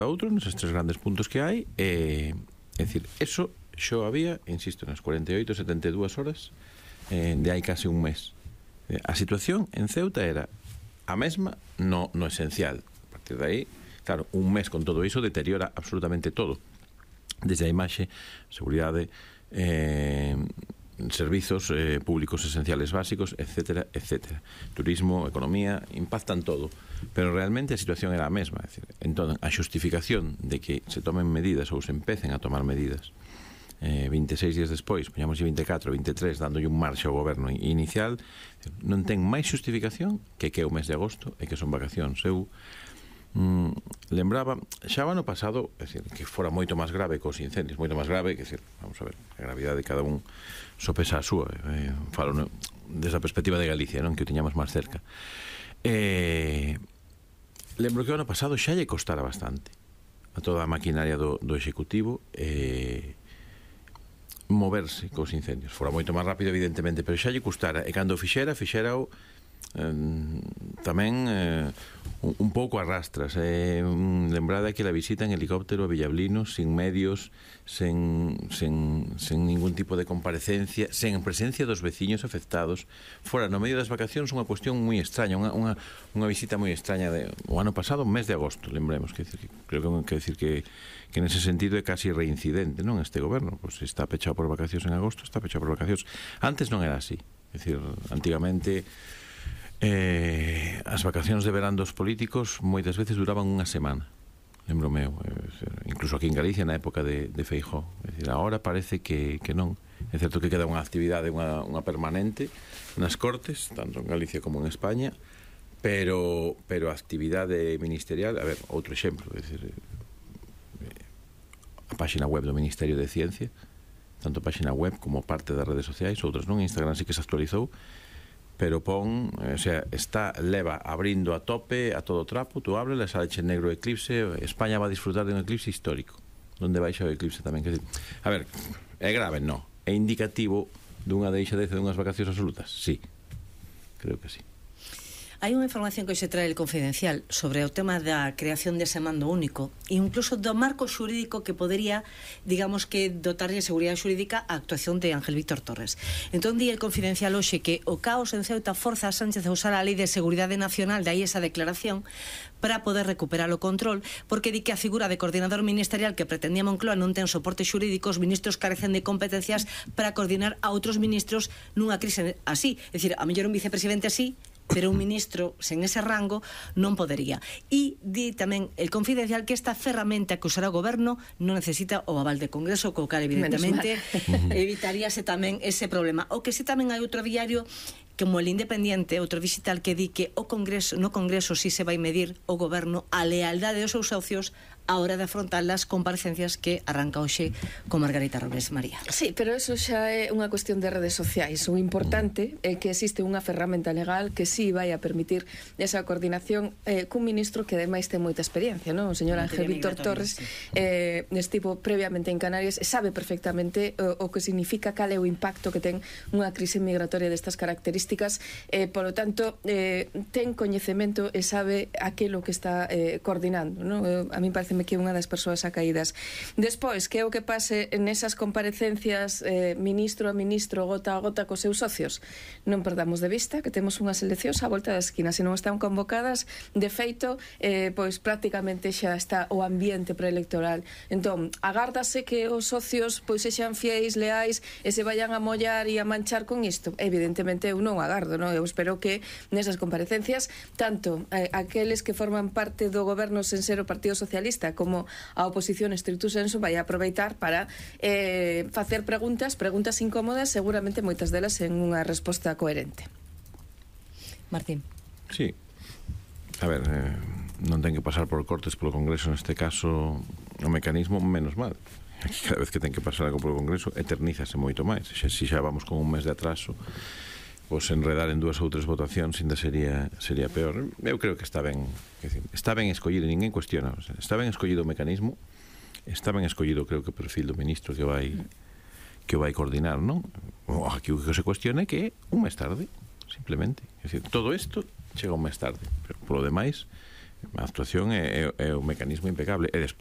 outro, neses tres grandes puntos que hai, é dicir, eso xo había, insisto, nas 48, 72 horas de hai case un mes. A situación en Ceuta era a mesma no esencial. A partir de aí, claro, un mes con todo iso deteriora absolutamente todo, desde a imaxe, seguridade, servizos públicos esenciales básicos, etcétera, etcétera. Turismo, economía, impactan todo. Pero realmente a situación era a mesma. É dicir, entón, a xustificación de que se tomen medidas ou se empecen a tomar medidas 26 días despois, poñamos 24, 23, dándolle un marxe ao goberno inicial, non ten máis xustificación que é o mes de agosto e que son vacacións. Eu lembraba xa o ano pasado, é dicir, que fora moito máis grave cos incendios, moito máis grave, que decir, vamos a ver, a gravidade de cada un sopesa a súa, falo desde a perspectiva de Galicia, non, que o tiñamos máis cerca. Lembro que o ano pasado xa lle costara bastante a toda a maquinaria do Executivo moverse cos incendios. Fora moito máis rápido, evidentemente, pero xa lle custara, e cando fixera-o tamén un pouco a rastras. Lembrada que la visita en helicóptero a Villablino, sin medios, sen ningún tipo de comparecencia, sen presencia dos veciños afectados, fora no medio das vacacións, unha cuestión moi extraña, unha visita moi extraña o ano pasado, mes de agosto, lembremos, que creo que decir que nese sentido é casi reincidente, non, este goberno, pois está pechado por vacacións en agosto, está pechado por vacacións. Antes non era así, é dicir, antigamente as vacacións de verán dos políticos moitas veces duraban unha semana, lembro meu, incluso aquí en Galicia na época de Feijóo. É dicir, agora parece que non. É certo que queda unha actividade, unha permanente nas Cortes, tanto en Galicia como en España, pero a actividade ministerial, a ver, outro exemplo, é dicir, a páxina web do Ministerio de Ciencia, tanto a páxina web como parte das redes sociais, outras non, Instagram sí que se actualizou, pero pon, o sea, leva abrindo a tope, a todo trapo, tú ábrele, saleche negro eclipse, España va a disfrutar de un eclipse histórico, donde baixa o eclipse tamén. A ver, é grave, non? É indicativo dunha deixadeza dunhas vacacións absolutas? Sí, creo que sí. Hai unha información que hoxe trae el Confidencial sobre o tema da creación dese mando único e incluso do marco xurídico que podería, digamos que, dotarlle de seguridade xurídica a actuación de Ángel Víctor Torres. Entón, di el Confidencial hoxe que o caos en Ceuta forza a Sánchez a usar a Lei de Seguridade Nacional, de aí esa declaración, para poder recuperar o control, porque di que a figura de coordinador ministerial que pretendía Moncloa non ten soporte xurídico, os ministros carecen de competencias para coordinar a outros ministros nunha crise así. É dicir, a mellor un vicepresidente así, pero un ministro sen ese rango non podería. E di tamén el Confidencial que esta ferramenta que usará o goberno non necesita o aval de Congreso, co cal evidentemente evitaríase tamén ese problema. O que si tamén hai outro diario como el Independiente, outro digital, que di que no Congreso si se vai medir o goberno a lealdade dos seus socios a hora de afrontar as comparecencias que arranca hoxe con Margarita Robles. María. Sí, pero eso xa é unha cuestión de redes sociais. O importante é que existe unha ferramenta legal que sí vai a permitir esa coordinación cun ministro que ademais ten moita experiencia, non? O señor Ángel Víctor Torres estivo previamente en Canarias e sabe perfectamente o que significa, cal é o impacto que ten unha crise migratoria destas características, polo tanto ten coñecemento e sabe aquilo que está coordinando, non? A mí parece que é unha das persoas acaídas. Despois, que é o que pase nesas comparecencias ministro a ministro, gota a gota cos seus socios? Non perdamos de vista que temos unhas eleccións á volta da esquina. Se non están convocadas, de feito, pois prácticamente xa está o ambiente preelectoral. Entón, agárdase que os socios pois sexan fieis, leais e se vayan a mollar e a manchar con isto? Evidentemente eu non agardo, non? Eu espero que nesas comparecencias tanto aqueles que forman parte do goberno sen ser o Partido Socialista como a oposición estricto senso vai a aproveitar para facer preguntas incómodas, seguramente moitas delas en unha resposta coherente. Martín. Sí. A ver, non ten que pasar por cortes polo Congreso neste caso o mecanismo, menos mal. Aquí cada vez que ten que pasar algo polo Congreso eternízase moito máis. Se xa vamos con un mes de atraso, pois enredar en 2 ou 3 votacións ainda sería peor. Eu creo que está ben escollido, ninguén cuestiona, está ben escollido o mecanismo, está ben escollido, creo que o perfil do ministro que vai coordinar, non? Aquí o que se cuestiona é que un mes tarde, simplemente. É dicir, todo isto chega un mes tarde, pero polo demais A actuación é o mecanismo impecable. E despois